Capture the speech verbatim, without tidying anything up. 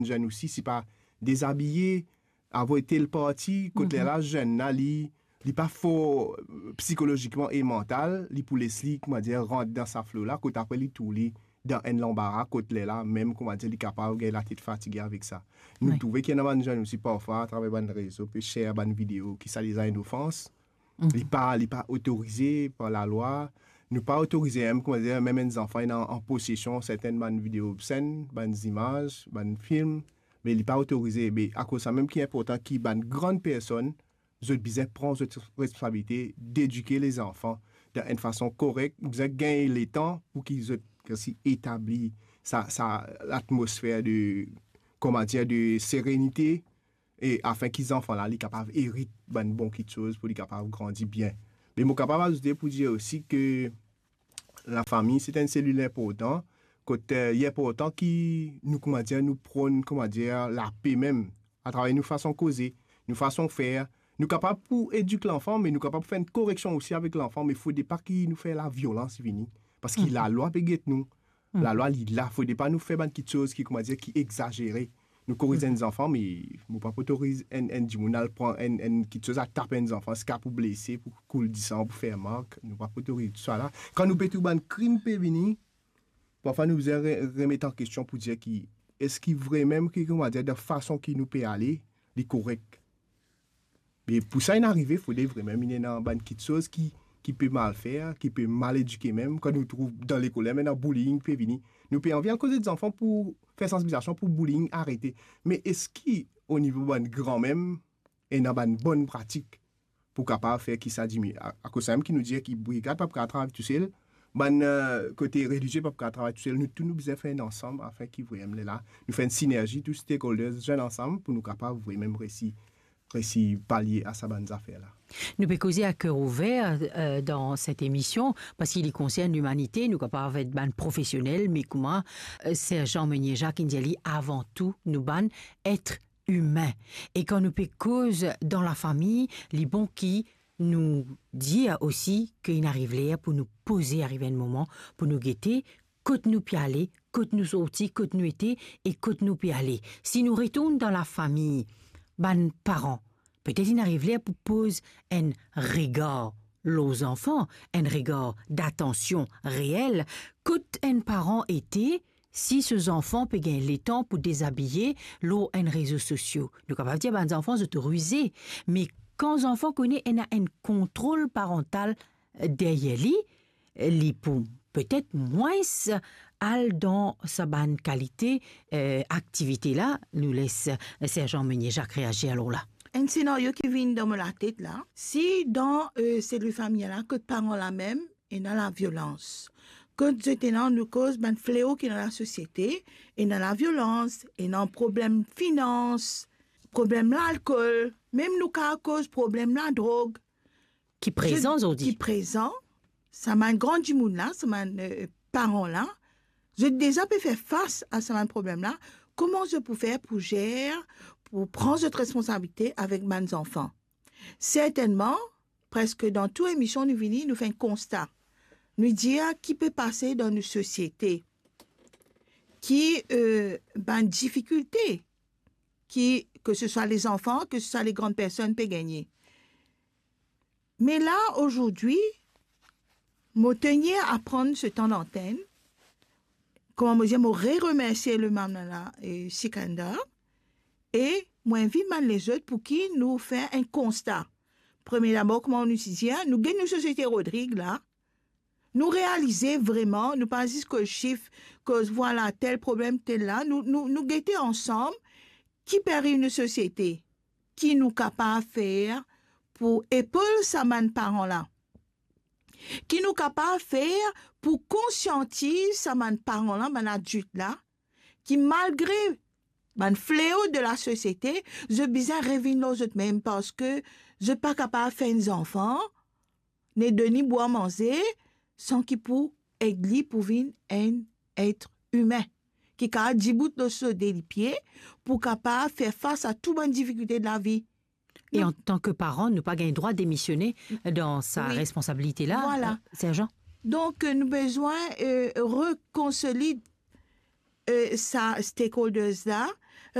zenn osi, si pa dezabiye, avoy tel parti, kot lerla zenn la, li, li pa for, eh, psikolozikman e mantal, li pou les li, koumadir, rant dan sa flo la, kot apre li trouv li dan enn lanbara, kot lerla, mem, koumadir, li kapav gagn latet fatige avek sa. Nou trouve ki ena bann zenn osi parfwa, atraver bann rezo, pe share bann video, ki sa deza enn ofans. Li pa, li pa otorize par lalwa. Nou pa otorize mem, koumadir, mem enn zanfan ena an posesion sertenn bann video obsenn, bann zimaz, bann film, me li pa otorize. Me akoz sa mem ki inportan ki bann gran personn, zot bizin pran zot responsabilite dedike lezanfan dan enn fason korek, bizin gagn letan pou ki zot osi etabli sa, sa latmosfer de, koumadir, de serenite, e afin ki zanfan la, li kapav erit bann bon kitsoz pou li kapav grandi bien. Me mo kapav azoute pou dir osi ke lafami, se enn selil inportan, kot, eh, li inportan ki nou, koumadir, nou pronn, koumadir, lape mem, atraver nou fason koze, nou fason fer. Nou kapav pou edik lanfan, me nou kapav fer enn koreksion osi avek lanfan, me fode pa ki nou fer laviolans vini. Paski lalwa pe get nou. Lalwa, li la, fode pa nou fer bann kitsoz ki, koumadir, ki egzazere. Nou koriz enn zanfan, me mo pa pou otoriz enn, enn dimoun al pran enn, enn kitsoz, al tap enn zanfan, ziska pou blese, pou koul disan, pou fer mark. Nou pa pou otoriz tousala. Kan nou pe trouv bann krim pe vini, parfwa nou bizin re-, remet an kestion pou dir ki, eski vremem ki, koumadir, dan fason ki nou pe ale, li korek? Me pou sa inn arive, fode vremem inn ena bann kitsoz ki, ki pe mal fer, ki pe mal edike mem. Kan nou trouv dan lekol mem ena bullying pe vini, nou pe anvi al koz lezanfan pou fer sansibilizasion pou bullying arete. Me eski o nivo bann gran mem, ena bann bonn pratik pou kapav fer ki sa diminye? A-, akoz samem ki nou dir ki brigad pa pou kapav travay tousel, bann, eh, kote relizie pa pou kapav travay tousel, nou tou nou bizin fer enn ansam, afin ki vremem lerla, nou fer enn sinerzi, tou stakeholders, zwenn ansam pou nou kapav vremem resi resi palie a sa bann zafer la. Nou pe koze a ker ouver, eh, dan set emision, paski li konsern limanite, nou kapav et bann profesionel, me kouma, eh, Serjan Meunier Jacques inn dir li, avan tou, nou bann et imin. E kan nou pe koz dan lafami, li bon ki nou dir osi ki inn ariv ler pou nou poze, ariv enn moman pou nou gete kot nou pe ale, kot nou sorti, kot nou ete e kot nou pe ale. Si nou retourn dan lafami, bann paran, petet inn ariv ler pou poz enn regar lor zanfan, enn regar datansion reel, kot enn paran ete, si so zanfan pe gagn letan pou dezabiye lor enn rezo sosio. Nou kapav dir bann zanfan zot rize, me kan zanfan kone ena enn kontrol parantal deryer li, li pou petet mwins al dan sa bann kalite, eh, aktivite la. Nou les, eh, Serjan Meunier Jacques reazir lor la. Enn senario ki vinn dan mo latet la, si dan, eh, selil fami la, kot paran la mem ena laviolans, kot zot ena, nou koz bann fleo ki dan lasosiete, ena laviolans, ena problem finans, problem lalkol, mem nou kapav koz problem ladrog, ki prezan zordi, ki prezan, sa bann gran dimoun la, sa bann, eh, paran la, zot deza pe fer fas a sa bann problem la, kouma zot pou fer pou zer, pou pran zot responsabilite avek bann zanfan? Sertennman, preske dan tou emision nou vini, nou fer enn konsta. Nou dir ki pe pase dan nou sosiete, ki, eh, bann difikilte ki, ke se swa lezanfan, ke se swa legrann personn pe gagne. Me la, azordi, mo tenir a pran se tan lantenn, kouma mo dir, mo reremersie le Mamalana, eh, Sikandar, e mo invit bann lezot pou ki nou fer enn konsta. Premie dabor, kouma nou ti dir, nou get nou sosiete Rodrig la, nou realize vreman, nou pa zis koz sif, koz vwala tel problem, tel la, nou, nou, nou gete ansam ki pe ariv nou sosiete, ki nou kapav fer pou epol sa bann paran la, ki nou kapav fer pou konsiantiz sa bann paran la, bann adilt la, ki malgre bann fleo de lasosiete, zot bizin revinn lor zot mem, parski zot pa kapav fer enn zanfan, ni donn li bwar manze, san ki pou ed li pou vinn enn et imin, ki kapav dibout lor so de lipie, pou kapav fer fas a tou bann difikilte de lavi. E antan ki paran, nou pa gagn drwa demisione dan sa responsabilite la, vwala, eh, Serjan? Donk, eh, nou bizin, eh, rekonsolid, eh, sa stakeholders la,